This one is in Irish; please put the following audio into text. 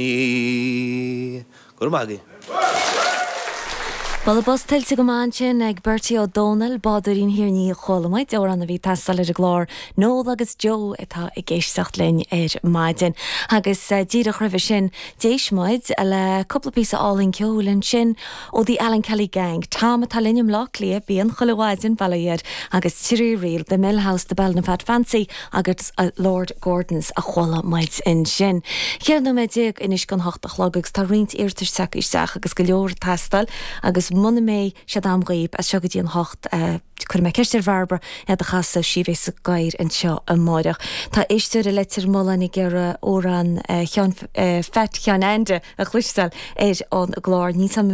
Go raibh maith agaibh. Bualadh bos tuillte go maith ansin ag Bertie Ó Dónaill, Bádóirín Thír an Fhia a chuala muid, amhrán a bhí ag teastáil ar an gclár. Noel agus Joe atá ag éisteacht linn ar maidin. Agus díreach roimhe sin, d'éist muid le cúpla píosa álainn ceoil ansin ó The Alan Kelly Gang, Tom atá linn i mBleá Cliath, bíonn chuile mhaidin, bail ó Dhia air, agus Trí Ríl, The Mill House, The Ballinafad Fancy agus Lord Gordon's a chuala muid ansin. 14 nóiméad anois don hocht a chlog agus tá roinnt iarratais tagtha isteach agus go leor ag teastáil agus muna mbeidh siad a'm dhaoib as seo go dtí an hocht cuirfidh mé ceist ar Bhairbre iad a chasadh, sí a bheas sa gcathaoir anseo amáireach. Tá éisteoir i Leitir Mealláin ag iarraidh amhrán Sheáin Pheait Sheáin Ainde a chloisteáil ar an gclár. Níl 's a'm.